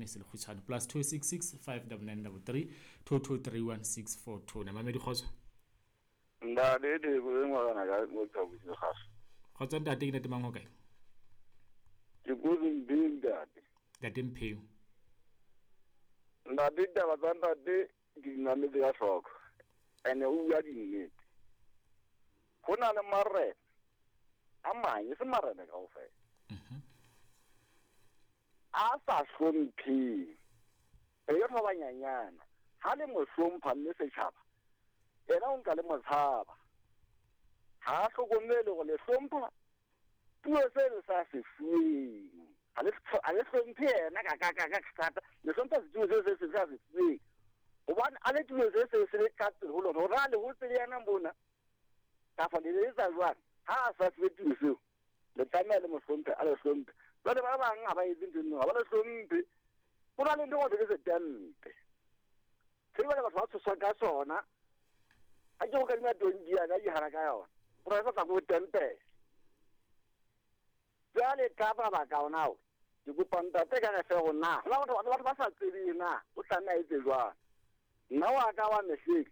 SMS le kgutshwane +266 599 33 2231 642. Mamedi, kgotso. Ntate Theko e ngwana ka mo thabisi kgaso. Kgotso ntate, ke ntate mang o kae? Ke kotsi Mpheu ntate. Ntate Mpheu. Ntate, ditaba tsa ntate ke di mametse ka hloko. Ene o bua dinnete. Ho na le marena a mang, e se marena kaofela. A sa hlompheng. E ke ba banyanyana. Ha le mo hlompha mme setjhaba, yena o nka le mo tshaba. Ha a hlokomele hore le hlompha puo se le sa se fuweng. Ha le hlomphe yena ka ka ka ka thata. Le hlompha setulo se se se sa se fuweng. Hobane a le tulo se se se le ka pele ho lona. Hore a le hotse le yena mona. Kapa le le etsa jwang? Ha a sa fuwe tulo seo, le tlameha le mo hlomphe, a le hlomphe. Jwale ba bang ha ba etse ntho eno, ha ba le hlomphe. Ho na le ntho e ke setempe. Se jwale batho ba tshoswa ka sona. Ha ke go kadima tonki yana, ke hana ka yona. Ho na le sa tla ko tempe. Jwale ka mabaka ona ao, ke kopa ntate ka re fe hore na, ho na batho ba sa tsebeng na, o tlameha a etse jwang. Nna wa ka wa mehleng,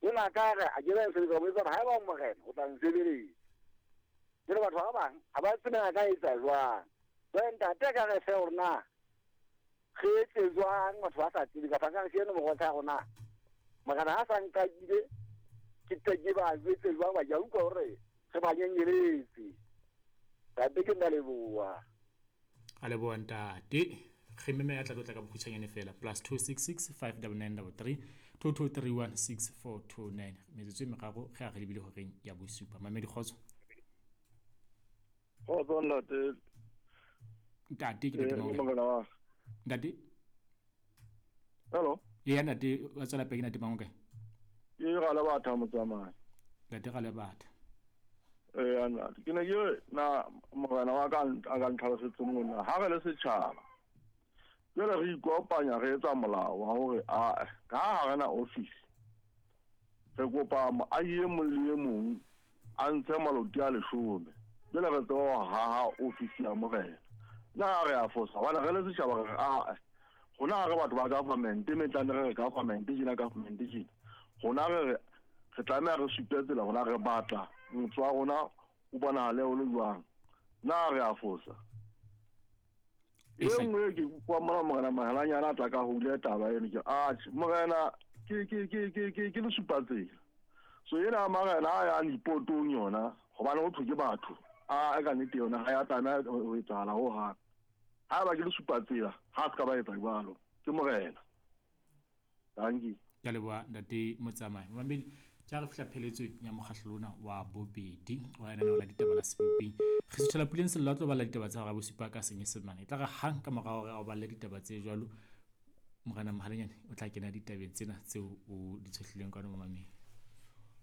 o na ka re a ke ba nsebeletsa, o etsa hore haeba o morena, o tla nsebeletsa. Jwale batho ba bang ha ba tsebe a ka etsa jwang. Jwale ntate ka re fe hore na re etse jwang, batho ba sa tsebe kapa ka re ke eno morota ya rona. Morena ha sa nkakile, ke tle ke ba jwetse jwang, ba ke a utlwa hore re ba nyenyeletse. Ntate ke nna leboha. A leboha ntate. Re meme ya tla tlo tla ka bokgutshwanyane fela +266 599 33 2231 6429. Metsotso e meraro re a re lebile horeng ya bosupa. Mamedi, kgotso. Kgotso ntate. Ntate ke ntate mang? Morena wa. Ntate. Hello. Ya ntate, wa tswela pele, ke ntate mang o kae? Ke ga le batha motsamai. Ntate ga le batha. Eh ntate, ke ne ke na morena wa ka a ka ntlhalosetse mona. Ha re le setjhaba, jwale re ikopanya re etsa molao wa hore a ka ha re na office, re kopa moahi e mong le e mong a ntshe maloti a 10. Jwale re tseba ho haha office ya morena. Na re a fosa hobane re le setjhaba re a rona ha re batho ba government, me tla re re government tjena, government tjena. Rona re re tlameha re supe tsela rona re batla motse wa rona o bonahale o le jwang. Na re a fosa? E nngwe ke kwa mona morena Mahelanyana a tla ka hule taba eno ke atjhe morena ke ke ke ke ke ke le supa tsela. So ena marena a ya dipotong yona hobane ho thwe ke batho a ka nnete yona ha ya tlameha ho etsahala ho hang. Ha ba ke le supa tsela ha se ka ba etsa jwalo ke morena. Dankie. Ke a leboha ntate Motsamai. Mamedi, ke ha re fihla pheletsong ya mokgahlelo ona wa bobedi wa lenaneo la ditaba la Sebopeng. Re suthela puleng sello a tlo bala ditaba tsa hora ya bosupa ka Senyesemane. E tla re hang ka mora hore a o balle ditaba tse jwalo, Morena Mohalenyane o tla kena ditabeng tsena tseo o di tshohlileng kwano mamamedi.